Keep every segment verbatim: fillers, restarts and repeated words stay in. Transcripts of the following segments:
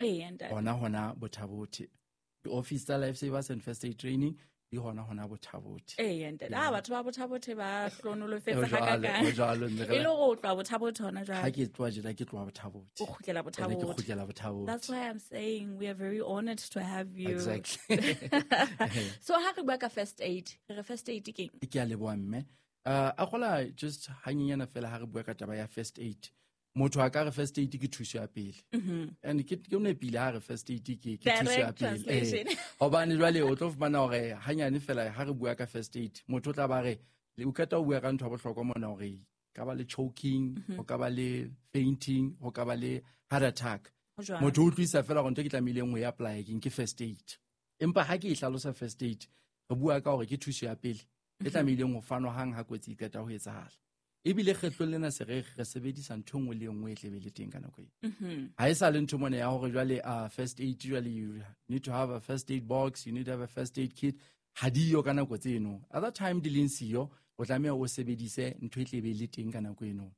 Ee, ntate. Hona hona Botha-Bothe. Di-office tsa Life Savers and First Aid Training di hona hona Botha-Bothe. Ee, ntate. Ah, batho ba Botha-Bothe ba hlohonolofetse Ho jwalo, hakakang. ho jwalo, mme re E le hore o tloha Botha-Bothe hona jwale. Ha ke tloha tjena ke tloha Botha-Bothe. O kgutlela Ene ke Botha-Bothe. kgutlela Botha-Bothe. That's why I'm saying we are very honored to have you. Exactly. So ha re bua ka first aid, re re first aid ke eng? Ke a leboha mme. Uh, a kgola just hanyenyana fela ha re bua ka taba ya first aid. Motho a ka re first aid ke thuso ya pele. And ke ke o nepile ha re first aid ke ke thuso ya Direct pele. Eh, translation. hobane jwale o tlo fumana hore hanyane fela ha re bua ka first aid, motho o tla ba re le o qeta ho bua ka ntho ya bohlokwa mona hore ka ba le choking, ho ka ba le fainting, ho ka ba le heart attack. Ho jwalo. Motho o utlwisa fela hore ntho e ke tlamehileng ho e apply keng ke first aid. Empa ha ke e hlalosa first aid, re bua ka hore ke thuso ya pele e tlamehileng ho fanwa hang ha kotsi e qeta ho etsahala. Ebile kgetlong lena se re re sebedisa ntho e nngwe le e nngwe e tlebe le teng ka nako eo. Ha e sa le ntho mona ya hore jwale, uh, first aid jwale you need to have a first aid box, you need to have a first aid kit. Ha diyo ka nako tseno. Other time di leng siyo, o tlameha o sebedise ntho e tlebe le teng ka nako eno.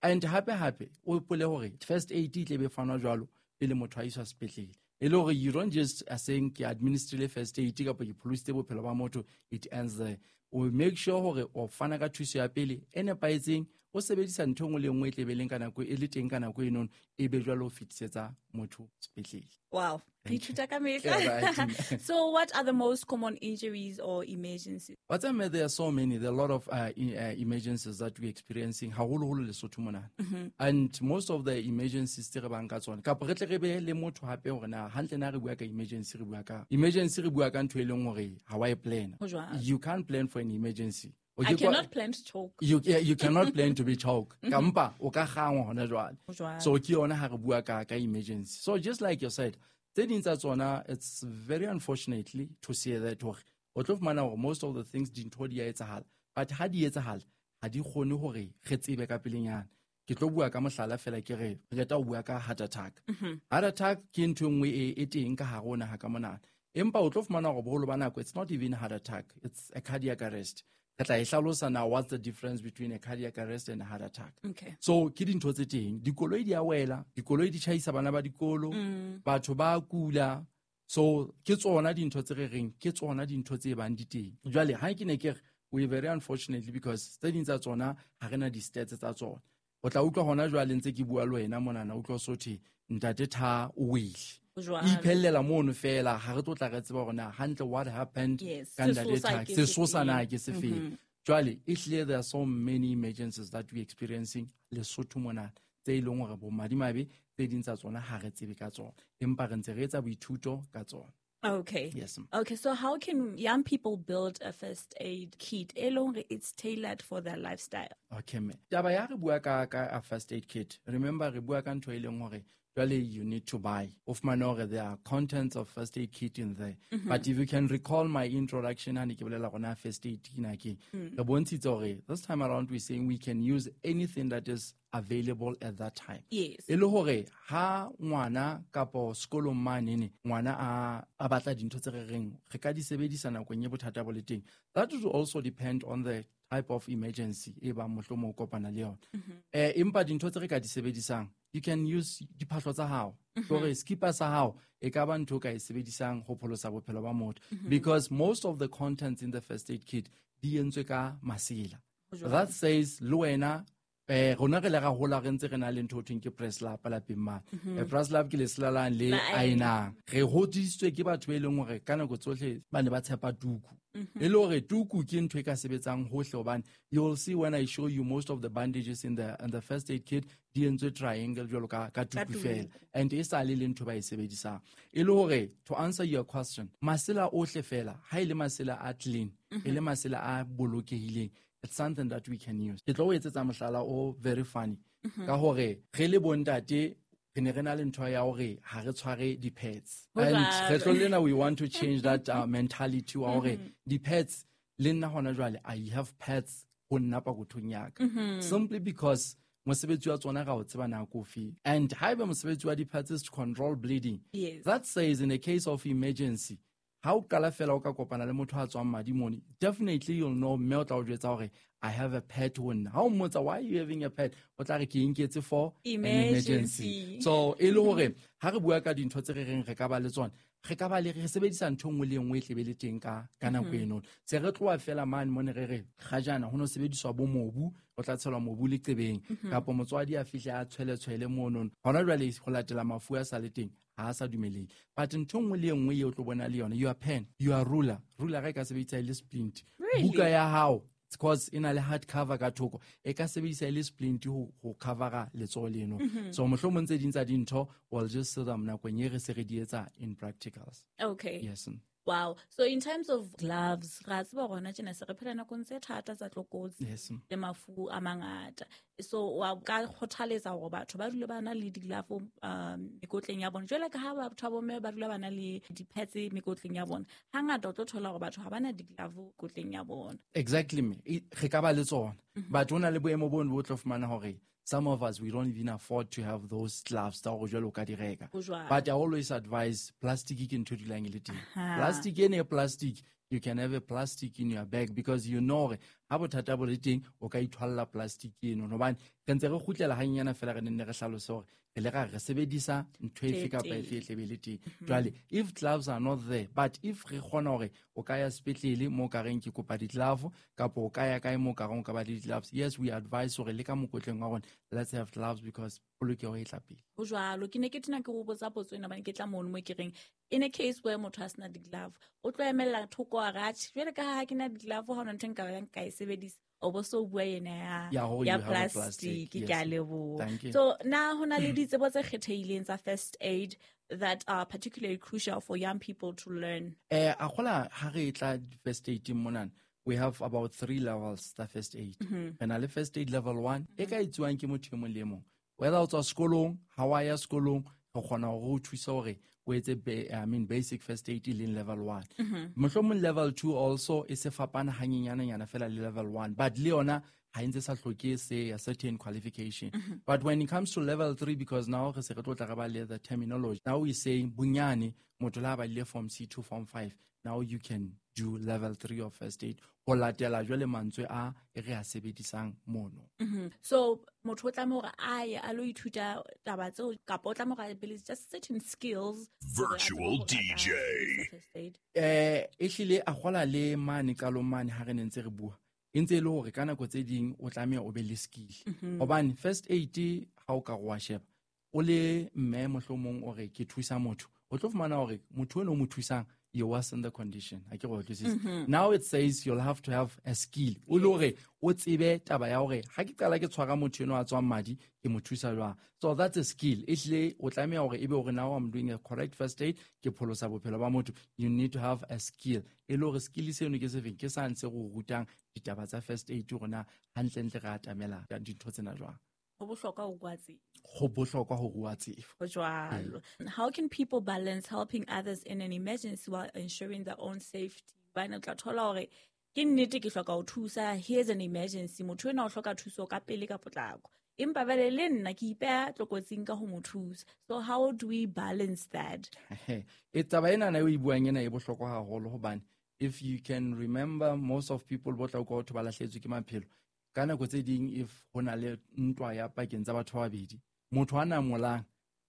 And hape hape, o hopole hore first aid e tlebe fanwa jwalo pele motho a iswa sepetlele. E le hore you don't just uh, saying ke administrile first aid kapa ke pholositse bophelo ba motho, it ends there. O make sure hore o fana ka thuso ya pele e nepahetseng, o sebedisa ntho e nngwe le e nngwe e tlebe leng ka nako e le teng ka nako eno, e be jwalo o fetisetsa motho sepetlele. Wow. Re Thank you. ithuta ka mehla. Yeah, right. So what are the most common injuries or emergencies? What's I mean, there are so many. There are a lot of, uh, e-, uh, emergencies that we're experiencing. Haholoholo Lesotho mona. Mm-hmm. And most of the emergencies tse re bang ka tsona. Kapa re tle re be le motho hape hore na hantle na re bua ka emergency, re bua ka emergency, re bua ka ntho e leng hore ha wa e plan. Ho jwalo. You can't plan for an emergency. O I ke kwa cannot plan to choke. You, yeah, you cannot plan to be choked. Kampa o ka kgangwa hona jwale. Ho jwalo. So ke yona ha re bua ka, ka emergency. So just like you said, tse ding tsa tsona, it's very unfortunately to say that hore o tlo fumana hore most of the things dintho di a etsahala, but ha di etsahala ha di kgone hore re tsebe ka pelenyana. Ke tlo bua ka mohlala fela ke re re qeta ho bua ka heart attack. Mm-hmm. Heart attack ke ntho e nngwe e, e teng ka hare ho naha ka monana. Empa o tlo fumana hore boholo ba nako it's not even heart attack, it's a cardiac arrest. Re tla e hlalosa now what's the difference between a cardiac arrest and a heart attack. Okay. So ke dintho tse teng, dikoloi di a wela, dikoloi di tjhaisa bana ba dikolo, Mm. batho ba kula. So ke tsona dintho tse re reng, ke tsona dintho tse bang di teng. Jwale ha ke ne ke re we very unfortunately because tse ding tsa tsona ha re na di-stats tsa tsona. O tla utlwa hona jwale ntse ke bua le wena monana, utlwa so thwe ntate Tha o wele. Ho jwalo. Iphellela mono fela, ha re tlo tla re tseba hore na hantle what happened Yes, ka ntate sesosa Tha, ke sesosa na sefeng. ke sefeng. Mm-hmm. Jwale, ehlile there are so many emergencies that we experiencing Lesotho mona, tse e leng hore bo madimabe, tse ding tsa tsona ha re tsebe ka tsona, empa re ntse re etsa boithuto ka tsona. Okay. Yes, ma'am. Okay, so how can young people build a first aid kit? E leng hore it's tailored for their lifestyle. Okay, ma'am. Taba ya re bua ka, ka a first aid kit. Remember, re bua ka ntho e leng hore jwale you need to buy. O fumane hore there are contents of first aid kit in there. Mm-hmm. But if you can recall my introduction, ha ne ke bolela hore na first aid ke na ke, Mm. re bontshitse hore this time around we're saying we can use anything that is available at that time. Yes. E le hore ha ngwana kapo sekolong manene, ngwana a, a batla dintho tse re reng re ka di sebedisa nakong e bothata bo le teng. That will also depend on the type of emergency e bang mohlomong o kopana le yona. Mm-hmm. Eh, empa dintho tse re ka di sebedisang, you can use diphahlo tsa hao. Mm-hmm. Hore skipa sa hao e ka ba ntho o ka e sebedisang ho pholosa bophelo ba motho. Mm-hmm. Because most of the contents in the first aid kit di entswe ka masela. Ho jwalo. That says le wena, eh, rona re le ra hola re ntse re na le ntho ho thweng ke press lap lapeng mane. Mm-hmm. Eh, press lap ke lesela lane le La aenang. Re hodisitswe ke batho ba e leng hore ka nako tsohle ba ne ba tshepa tuku. Mm-hmm. E le hore tuku ke ntho e ka sebetsang hohle hobane you will see when I show you most of the bandages in the, in the first aid kit di entswe triangle jwalo ka, ka Ka tuku tuku. fela. And e sa le le ntho ba e sebedisang. E le hore to answer your question, masela ohle fela, ha e le masela a clean, Mm-hmm. e le masela a bolokehileng, it's something that we can use. Ke tlo o etsetsa mohlala o very funny. Mm-hmm. Ka hore re le bontate re ne re na le ntho ya hore ha re tshware di-pads. Ho And jwalo. kgetlong lena we want to change that, uh, mentality wa hore Mm-hmm. di-pads le nna hona jwale I have pads ho nna pokothong ya ka. Mm-hmm. Simply because mosebetsi wa tsona ra o tseba nako ofe. And haeba mosebetsi wa di-pads is to control bleeding, Yes. that says in a case of emergency, ha o qala fela o ka kopana le motho a tswang madi mone, definitely you'll know mme o tla o jwetsa hore I have a pet ho nna. Ha o mmotsa, why are you having a pet? O tla re ke inketse for an emergency. So e le hore ha re bua ka dintho tse re reng re ka ba le tsona, re ka ba le re sebedisa ntho nngwe le nngwe e tlebe le teng ka ka nako eno. Se re tloha fela mane mone re re ga jana ho no sebediswa bo mobu, o tla tshelwa mobu leqebeng, kapa motswadi a fihle a tshwele tshwele mono. Hona jwale ho latela mafu a sa le teng, ha a sa dumelehe. But ntho nngwe le nngwe eo o tlo bona le yona, your pen, your ruler, ruler e ka sebedisa e le splint. Buka ya hao, because e na le hard cover ka thoko, e ka sebedisa e le splint ho ho covera letsoho leno. So mohlomong tse ding tsa dintho we'll just see them nakong e re se re di etsa in practicals. Okay. Yes. Wow. So in terms of gloves, ra tseba hore tjena se re phela nakong tse thata tsa tlokotsi Yes. le mafu a mangata. So wa ka kgothaletsa hore batho ba dule ba na le di-glove, um, mekotleng ya bona. Jwale ka ha batho ba bomme ba dula ba na le di-pads mekotleng ya bona, hangata o tlo thola hore batho ha ba na di-glove mekotleng ya bona. Exactly, me. Re ka ba le tsona. But ho na le boemo bono bo tlo fumana hore some of us, we don't even afford to have those gloves tsa hore jwale o ka di reka. Ho jwalo. But I always advise plastic ke ntho e dulang e le teng. Aha. Plastic ene e plastic, you can have a plastic in your bag because you know hore ha bothata bo le teng, o ka ithwalla plastic eno. Hobane re ntse re kgutlela hanyenyana fela re nenne re hlalose hore re le ra re sebedisa ntho efe kapa efe e tlebe le teng. Jwale, if gloves are not there, but if re kgona hore o ka ya sepetlele moo ka reng ke kopa di-glove, kapa o ka ya kae moo ka reng o ka ba le di-gloves, yes, we advise hore le ka mokotleng wa rona, let's have gloves because polokeho e tla pele. Ho jwalo, ke ne ke tena ke go botsa potso ena hobane ke tla mono mo ke reng, in a case where motho a sena di-glove, o tlo emella thoko a re, atjhe, jwale ka ha ke na di-glove, ha hona ntho e nka bang ka e sebedisa. O bo so bua yena ya, Ya hore ya you have a plastic, plastic, ke yes. a leboha. Thank you. So na ho na le ditsebo tse kgethehileng tsa first aid that are particularly crucial for young people to learn? Eh, a kgola ha re tla first aid monana, we have about three levels tsa first aid. Mm-hmm. Re na le first aid level one, e ka etsuwang ke motho e mong le e mong. Whether o tswa sekolong, ha wa ya sekolong, re kgona hore o thuse hore o etse be-, I mean, basic first aid e leng level one. Mm-hmm. Mohlomong level two also e se fapana hanyenyane-nyana fela le level one, but le yona ha e ntse sa hloke se a certain qualification. Mm-hmm. But when it comes to level three, because now re se re tlo tla re ba le the terminology, now we say bonyane motho le ha ba ile form C to form five, now you can do level three of first aid ho latela jwale mantswe a e re a sebedisang mono. Mm-hmm. So motho o tlameha hore a ye a lo ithuta taba tseo, kapa o tlameha hore a be le just certain skills hore a tsebe Virtual hore a ka D J. sebedisa first aid. Eh, ehlile a kgola le mane qalong mane ha re ne ntse re bua, e ntse e le hore ka nako tse ding o tlameha o be le skill. Mm-hmm. Hobane first aid ha o ka re wa sheba, o le mme mohlomong o re ke thusa motho, o tlo fumana hore motho eno o mo thusang, you worsen the condition. Ha ke re o utlwisise. Mm-hmm. Now it says you'll have to have a skill. O le hore o tsebe taba ya hore ha ke qala ke tshwara motho eno a tswang madi, ke mo thusa jwang. So that's a skill. Ehlile o tlameha hore ebe hore now I'm doing a correct first aid, ke pholosa bophelo ba motho. You need to have a skill. E le hore skill seno ke sefeng, ke sa ntse go rutang ditaba tsa first aid hore na hantlentle re atamela dintho tsena jwang. Ho bohlokwa ho rua tsebo. Ho bohlokwa ho rua tsebo. Ho jwalo. Mm. How can people balance helping others in an emergency while ensuring their own safety? Hobane o tla thola hore ke nnete ke hloka ho thusa, here's an emergency, motho enwa o hloka thuso ka pele ka potlako. Empa jwale le nna ke ipeha tlokotsing ka ho mo thusa. So how do we balance that? E taba ena na e buang ena e bohlokwa haholo hobane if you can remember, most of people bo tla utlwa batho ba lahlehetswe ke maphelo. Ka nako tse ding if ho na le ntwa ya pakeng tsa batho ba babedi, motho a namolang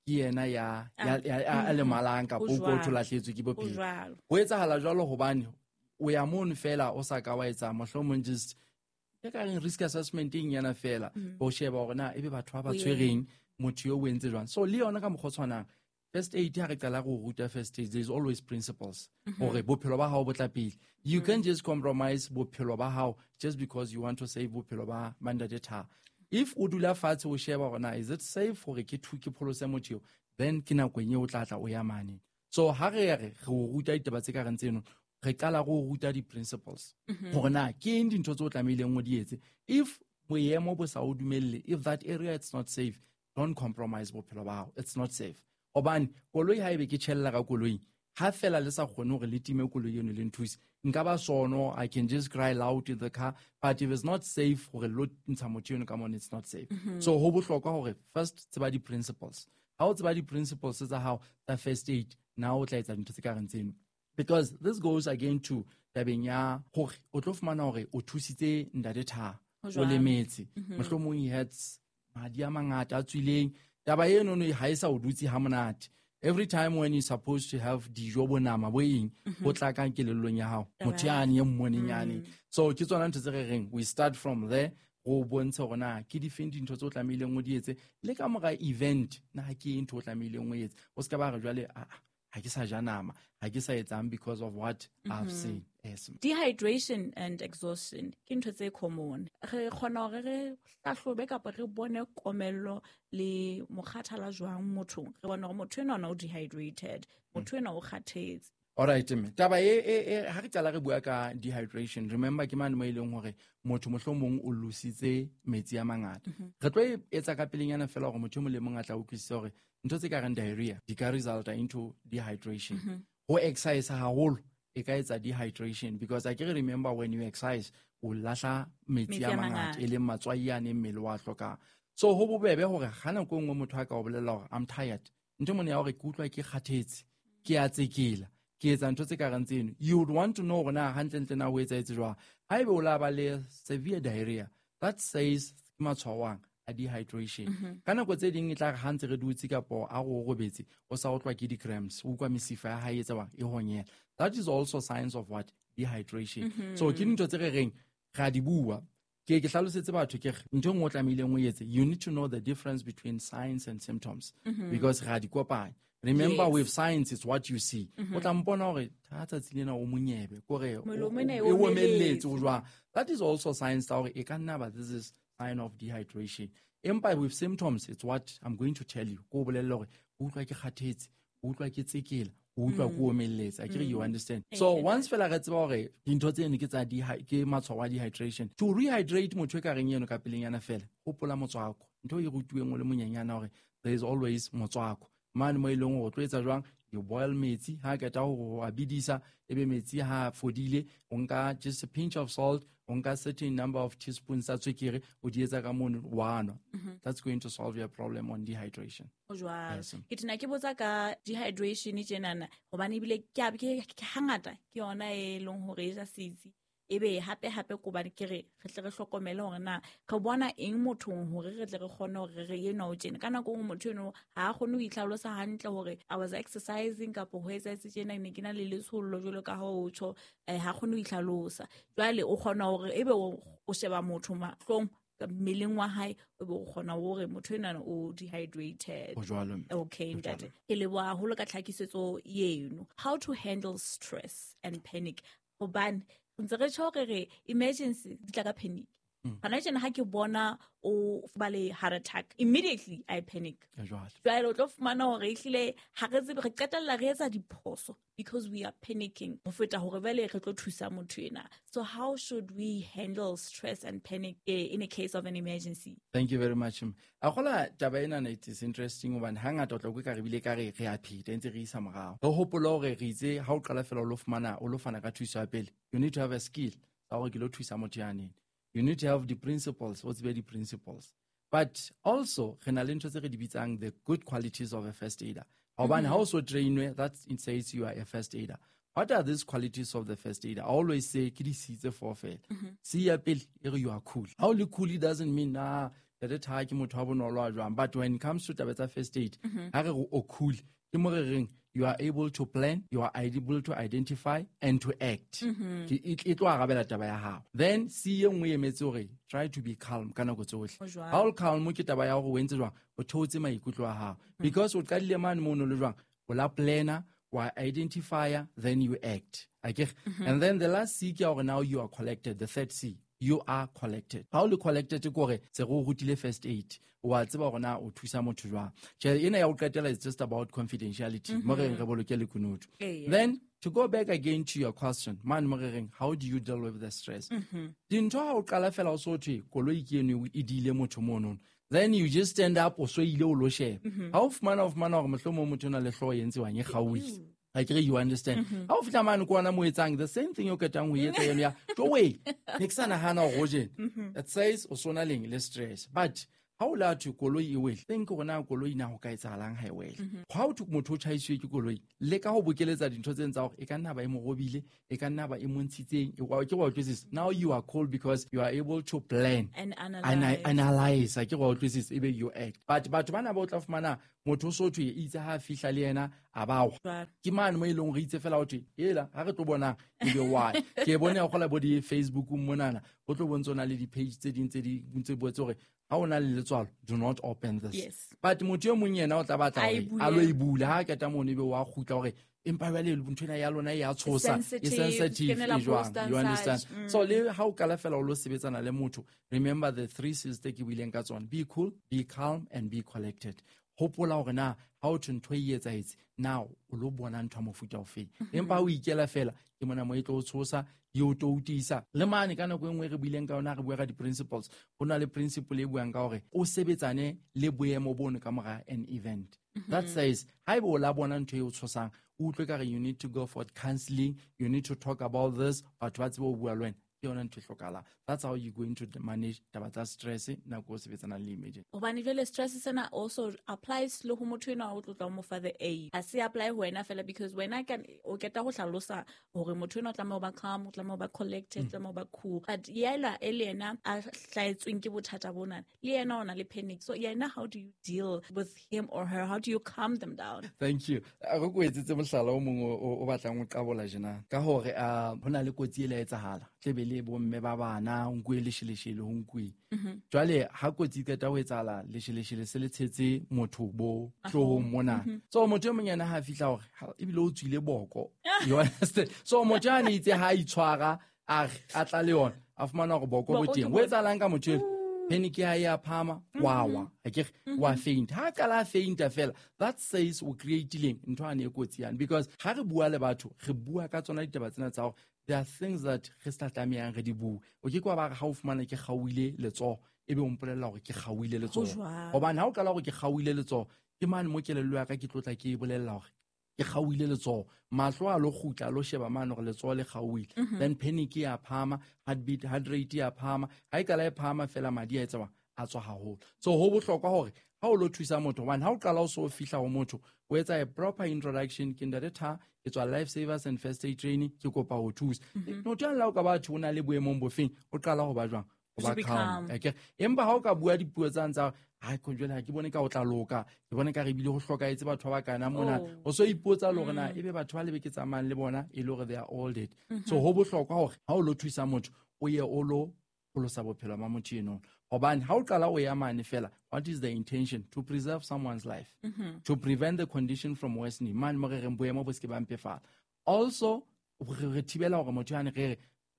ke yena ya, ya, ya, ya, a lemalang kapa Ho o utlwa jwalo. o lahlehetswe ke bophelo. Ho jwalo. Ho etsahala jwalo hobane o ya mono fela o sa ka wa etsa mohlomong just e ka reng risk assessment e nyana fela, Mm. ho sheba hore na ebe batho ba ba Ho ye. tshwereng motho eo o entse jwang. So le yona ka mokgwa o tshwanang, first aid ha re qala go ruta first aid, there is always principles Mm-hmm. hore bophelo ba hao bo tla pele. You Mm. can just compromise bophelo ba hao just because you want to save bophelo ba ntate Thabo. If o dula fatshe o sheba hore na is it safe hore ke thu-, ke pholose motho eo, then ke nako e o tla tla o ya mane. So ha re re re o ruta ditaba tse ka reng tseno, re qala go ruta di-principles Mm-hmm. hore na ke eng dintho tse o tlamehileng o di etse. If boemo bo sa o dumelle, if that area it's not safe, don't compromise bophelo ba hao, it's not safe. Hobane koloi ha ebe ke tjhella ka koloing, ha fela le sa kgone hore le time koloi eno le nthuse, nka ba sono, I can just cry loud in the car, but if it's not safe hore lo ntsha motho eno ka mona, it's not safe. Mm-hmm. So ho bohlokwa hore first tseba di-principles. Ha o tseba di-principles tsa hao tsa first aid, now o tla etsa dintho tse ka reng tseno. Because this goes again to tabeng ya hore o tlo fumana hore o thusitse ntate Thabo. O lemetse. Mohlomong he had madi a mangata a tswileng. Taba eno no ha e sa o dutse ha monate. Every time when you're supposed to have dijo bo nama bo eng, ho tla ka kelellong ya hao. Motho yane e mmoneng yane. So ke tsona ntho tse re reng we start from there. Go bontshe hore na ke difeng dintho tse o tlamehileng o di etse le ka mora event na ke eng ntho o tlamehileng o etse. O ska ba re jwale a ha ke sa ja nama, ha ke sa etsang because of what I've seen. Yes. Dehydration and exhaustion ke ntho tse common. Re kgona hore re hlahlobe kapa re bone komello le mokgathala jwang mothong. Re bone hore motho enwa o dehydrated, motho enwa o kgathetse. All right, mme. Taba e e e ha re qala re bua ka dehydration, remember ke mane mo e leng hore motho mohlomong o lositse metsi a mangata. Re tlo e etsa ka pelenyana fela hore motho e mong le mong a tla utlwisisa hore ntho tse ka reng diarrhea di ka resulta into dehydration. Ho exercise haholo e ka etsa dehydration because I can remember when you exercise o lahla metsi a mangata e leng matswai a neng mmele wa hlokang. So ho bobebe hore ha nako e nngwe motho a ka o bolella hore I'm tired. Ntho mone ya hore ke utlwa ke kgathetse, ke a tsekela, ke etsa ntho tse ka reng tseno. You would want to know hore na hantlentle na ho etsahetse jwang. Haebe o la ba le severe diarrhea, that says ke matshwao a dehydration. Ka nako tse ding e tla re ha ntse re dutse kapo a go robetse o sa utlwa ke di-cramps, o utlwa mesifa ya hae e etsa e honyela. That is also signs of what? Dehydration. So ke dintho tse re reng ra di bua. Ke ke hlalosetse batho ke re ntho e nngwe o tlamehileng o etse, you need to know the difference between signs and symptoms because ra di kopanya. Remember, Yes. with science, it's what you see. O tla mpona hore tha tsatsi lena o monyebe, kore o- Molomo ena e o omeletse omeletse. o jwang. That is also signs tsa hore e ka nna ba this is sign of dehydration. Empa with symptoms, it's what I'm going to tell you. Ko o bolelle hore o utlwa ke kgathetse, o utlwa ke tsekela, o utlwa ke omeletse. Akere you understand. So once fela re tseba hore dintho tseno ke tsa dehy-, ke matshwao a dehydration. To rehydrate motho e ka reng eno ka pelenyana fela, hopola motswako. Ntho e rutuweng o le monyenyana hore there is always motswako. Mane mo e leng hore o tlo etsa jwang, you boil metsi, ha qeta ho a bidisa, ebe metsi ha fodile, o nka just a pinch of salt, o nka certain number of teaspoons tsa tswekere, o di etsa ka mono, wa nwa. That's going to solve your problem on dehydration. Ho jwalo. Yes. Ke tena ke botsa ka dehydration tjenana, hobane ebile ke a, ke, ke hangata ke yona e leng hore e ja setsi. Ebe hape hape ko bane ke re, re tle re hlokomele hore na re bona eng mothong hore re tle re kgone hore re enwa o tjena. Ka nako e nngwe motho eno ha a kgone ho itlhalosa hantle hore I was exercising kapo ho etsahetse tjena, ne ke na le letshollo jwalo ka ha o tjho, eh, ha kgone ho itlhalosa. Jwale o kgona hore ebe o, o sheba motho mahlong mmeleng wa hae, o be o kgona hore motho enwana o dehydrated. Ho jwalo, mme. Okay, Ho ntate. jwalo. Ke leboha haholo ka tlhakisetso eno. How to handle stress and panic. Hobane ntse re tjho hore re emergency di tla ka panic. Hona tjena ha ke bona o ba le heart attack, immediately I panic. Ya jwale. Jwale o tlo fumana hore ehlile ha re tsebe, re qetella re etsa diphoso because we are panicking ho feta hore jwale re tlo thusa motho ena. So how should we handle stress and panic, eh, in a case of an emergency? Thank you very much. A gola taba ena it is interesting hobane hangata o tla utlwa ka re bile ka re re a pheta ntse re isa morao. Re hopola hore re itse ha o qala fela o lo fumana, o lo fana ka thuso ya pele, you need to have a skill sa hore ke lo thusa motho ya neng. You need to have the principles, what's the principles. But also, re na le ntho tse re di bitsang the good qualities of a first aider. Hobane ha o so trainwe, that it says you are a first aider. What are these qualities of the first aider? I always say, ke di C tse four fela. C ya pele, e re you are cool. Ha o le cool, it doesn't mean, nah, ntate Tha ke motho wa bonolo a jwang. But when it comes to taba tsa first aid, ha re re o cool, ke mo re reng, you are able to plan, you are able to identify and to act. Mm-hmm. Ke e, e tlo arabela taba ya hao. Then C e nngwe e emetse hore try to be calm ka nako tsohle. Ho jwalo. Ha o le calm ke taba ya hore o entse jwang, o theotse maikutlo a hao. Mm-hmm. Because o qadile mane mono le jwang, o la planner, wa identifier, then you act. Akere? Mm-hmm. And then the last C ke ya hore now you are collected, the third C. You are collected. Ha o le collected ke hore se re o rutile first aid. Wa tseba hore na o thusa motho jwang. Tjhe, ena ya ho qetela is just about confidentiality. Mo re reng re boloke lekunutu. Ee, yeah. Then to go back again to your question, man mo re reng, how do you deal with the stress? Mm-hmm. Dintho ha o qala fela o so thwe koloi ke eno e diile motho mono. Then you just stand up o so ile o lo sheba. Mm-hmm. Ha o fumana, o fumana hore mohlomong motho o na le hlooho e entse wang e kgaohile. Ew. Akere you understand. Mm-hmm. Ha o fihla mane ke ona mo etsang the same thing o qetang ho etsa eno ya, tjo wee, ne ke sa nahana hore o jena. Mm-hmm. It says o sona leng le stress. But Ha o la thwe koloi e wele, think hore na koloi na ho ka etsahalang ha e wele. Ha o thwe motho o tjhaisitswe ke koloi, leka ho bokeletsa dintho tse tsa hore e ka nna ba e mo robile, e ka nna ba e mo ntshitseng, e wa ke wa utlwisisa. Now you are cool because you are able to plan and analyze. Ana, analyze, ke wa utlwisisa, ebe you act. But batho bana ba o tla fumana motho o so thwe itse ha fihla le yena a ba wa. Ke mane mo e leng hore itse fela o thwe ela ha re tlo bona ebe why. Ke bone ya gola bo di Facebook monana, go tlo bontsha na le di page tse ding tse di ntse botse hore ha o na le letswalo, do not open this. Yes. But motho e mong yena o tla batla hore a lo e bula, ha qeta mono ebe wa kgutla hore empa jwale ntho ena ya lona e ya tshosa, e sensitive, e jwang, you understand? Mm. So le ha o kala fela o lo sebetsana le motho, remember the three C's tse ke buileng ka tsona: be cool, be calm and be collected. Hopola hore na ha o thwe ntho e etsahetse, na o lo bona ntho ya mofuta ofeng. Empa ha o ikela fela, ke mona mo e tlo o tshosa, e o toutisa. Le mane ka nako e nngwe re buileng ka yona, re bua ka di-principles. Ho na le principle e buang ka hore o sebetsane le boemo bono ka mora an event. That says, haeba o la bona ntho e o tshosang, o utlwe ka re you need to go for counseling, you need to talk about this, batho ba tsebe ho bua le wena. Ke yona ntho e hlokahalang. That's how you going to manage taba tsa stress nako o sebetsanang le emergency. Hobane jwale stress sena also applies le ho motho enwa o tlotla mo fa the aid. Ha se apply ho wena fela, because wena can o keta ho hlalosa hore motho enwa o tlameha ho ba calm, o tlameha ho ba collected, o tlameha ho ba cool. But yela e le yena a hlahetsweng ke bothata bona, le yena o na le panic. So yena, how do you deal with him or her? How do you calm them down? Thank you. A re ko etsetse mohlala o mong o, o batlang ho qabola jena. Ka hore, ah, ho na le kotsi e la etsahala. Tlebe le bomme ba bana, ho nkuwe lesheleshele, ho nkuwe. Jwale ha kotsi e qeta ho etsahala, lesheleshele se le tshetse motho bo hloohong mona. So motho e mong yena ha fihla hore, ha, ebile o tswile boko. You understand? So motho ya ne itse ha itshwara, a re, a tla le yona, a fumana hore boko bo Boko ke teng. Ho bo etsahalang ka motho eno? Panic ya ya phama, wa wa. Akere, wa faint. Ha qala faint fela, that says o create-ileng ntho ane e kotsi yane. Because ha re bua le batho, re bua ka tsona ditaba tsena tsa hore there are things that re sa tlamehang re di bue. O ke ke wa ba re ha o fumana ke kgaohile letsoho, ebe o mpolella hore ke kgaohile letsoho. Ho jwang? Hobane ha o qala hore ke kgaohile letsoho, ke mane mo kelello ya ka ke tlotla ke e bolella hore ke kgaohile letsoho. Mahlo a lo kgutla, a lo sheba mane hore letsoho le kgaohile. Mm-hmm. Then panic ya phahama, heartbeat, heart rate ya phahama. Ha e qala e phahama fela, madi a etsa jwang? A tswa haholo. So ho bohlokwa hore ha o lo thusa motho, hobane ha o qala o so fihla ho motho, o etsa a proper introduction. Ke ntate Tha, ke tswa Life Savers and First Aid Training, ke kopa ho thusa. Mm-hmm. Motho ya la o ka batho o na le boemong bofeng, o qala ho ba jwang? Ho ba To be calm. calm. Akere? Empa ha o ka bua dipuo tsa ntsa, hai, ko jwale ha ke bone ka o tla loka, ke bone ka re ebile ho hlokahetse batho ba bakana mona. Oh. O so ipotsa le hore na Mm. ebe batho ba lebe ke tsamayang le bona e le hore they are all dead. Mm-hmm. So ho bohlokwa hore ha o lo thusa motho, o ye o lo pholosa bophelo ba motho eno. Hobane ha o qala o ya mane fela, what is the intention? To preserve someone's life. Mm-hmm. To prevent the condition from worsening. Mane mo re reng boemo bo se ke ba mpefala. Also, re, re thibela hore motho yane re re,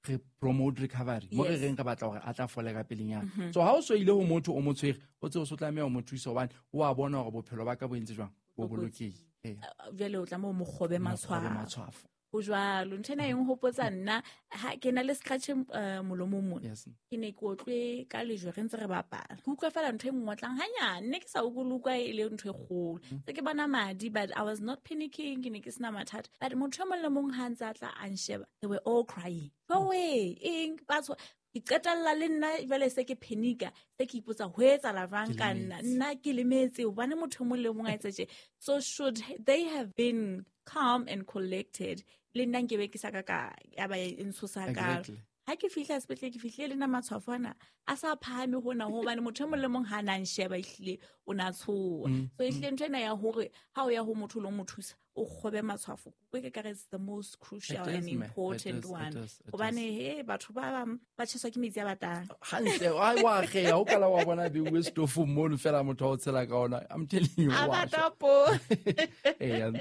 re promote recovery. Mo re Yes. reng re batla hore a tla fola ka pelenyana. Mm-hmm. So ha o so ile ho motho o mo tshwere, o tsebe o so tlameha ho mo thusa hobane o a bona hore bophelo ba ka bo entse jwang? Bo Bo kotsi. bolokehile. Ee. Eh, jwale o tlameha o mo kgobe Mo kgobe matshwafo. matshwafo. Ho jwalo. Ntho ena e nhopotsa nna, ha ke na le scratch, eh, molomong mona. Yes. Ke ne ke otlwe ka lejwe re ntse re bapala. Ke utlwa fela ntho e nngotlang hanyane, ne ke sa utlwe le utlwa e le ntho e kgolo. Mm. Se ke bona madi, but I was not panicking, ke ne ke sena mathata. But motho e mong le mong ha ntse a tla a nsheba, they were all crying. Go away, eng, batho. Ke qetella le nna jwale se ke panica, se ke ipotsa ho etsahala jwang Ke ka nna. lemetse. Nna ke lemetse hobane motho e mong le mong a etsa tje. So should they have been calm and collected, le nna nke be ke sa ka ka ya ba e ntshosa ka. Exactly. Ha ke fihla sepetlele, ke fihlile le nna matshwafo ana a sa phahame hona hobane motho e mong le mong ha na nsheba ehlile o na tshoha. Mm, So ehlile mm. ntho ena ya hore ha o ya ho motho o lo mo thusa, o kgobe matshwafo. Ke ka re it's the most crucial It is, and ma'am. It important is, it one. is, it Hobane is. he batho ba bang ba tjheswa ke metsi a batang. Hantle, ai, wa kgeya, o kala wa bona beuwe setofong mono fela motho a o tshela ka ona. I'm telling you, A wa bata shwa. po. Eya.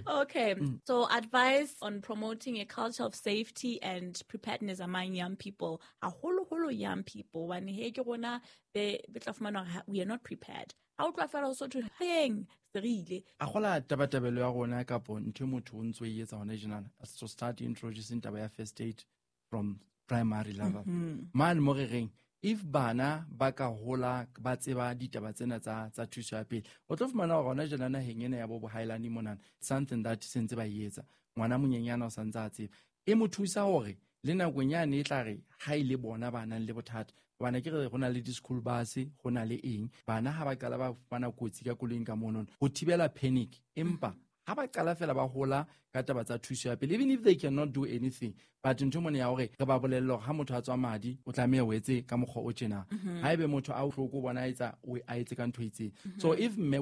Okay. Mm. So advice on promoting a culture of safety and preparedness among young people. Haholoholo young people. Hobane he ke rona be, be tla fumana hore ha, we are not prepared. Ha o tloha fela o so thwe, heng, se re ile. A gola tabatabelo ya rona kapo ntho e motho o ntso e etsa hona tjenana, to start introducing taba ya first aid from primary level. Mm-hmm. Mane mo re reng, if bana ba ka hola ba tseba ditaba tsena tsa, tsa thuso ya pele, o tlo fumana hore hona tjena naheng ena ya bo bohaelane monana, something that se ntse ba e etsa. Ngwana monyenyana o sa ntse a tseba. E mo thusa hore Le nakong yane e tla re ha e le bona ba nang le bothata, hobane ke re go na le di-school bus, go na le eng, bana ha ba qala ba fumana kotsi ka koloing ka monono, ho thibela panic. Empa ha ba qala fela ba hola ka taba tsa thuso ya pele, even if they cannot do anything, but ntho mone ya hore re ba bolelle hore ha motho a tswa madi, o tlameha o etse ka mokgwa o tjena, ha ebe motho a bohloko o bona a etsa, o a etse ka ntho e itseng. So if mme